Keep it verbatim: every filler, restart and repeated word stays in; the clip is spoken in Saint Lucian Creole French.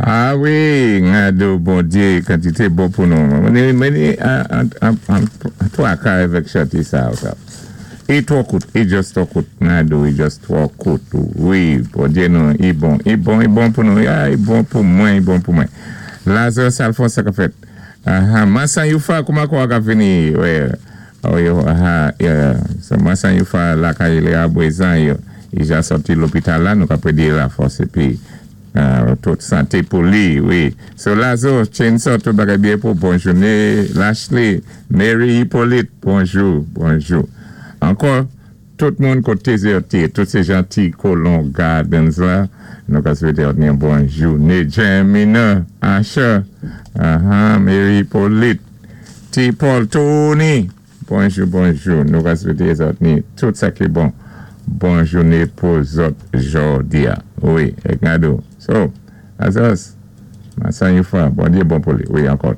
Ah wi, Ngado, Bondyé, kantité bon pou nou. Mwen mwen an twa ka avèk chanté sa. I twò kout, i just twò kout. Ngado, i just twò kout. Wi, Bondyé nou, i bon, i bon, i bon pou nou. I bon pou mwen, i bon pou mwen. Lazarus Alphonse sa ka fèt. Aha, Masan Yufa, kouman kwa ka vini? Wi, aha, so Masan Yufa lakay li a Bwezan yo. I ja sòti lopital la, nou ka prédé lafòs épi tout santé pou li, wi. So Lazo, Chainsaw, tout bagay byen pou bon jouné. Lashley, Mary Hippolyte, bonjou, bonjou. Ankò, tout moun koté zèti, tout sé janti Colon Gardens la, nou ka swété yon bon jouné. Jamina, Asha, aha, Mary Hippolyte, T. Paul, Tony, bonjou, bonjou. Nou ka swété zòt ni tout sa ki bon. Bon jouné pou zòt jòdi a. Wi, èk Ngado. So, azos, masan yufa, Bondyé bon pou li. Wi, ankò.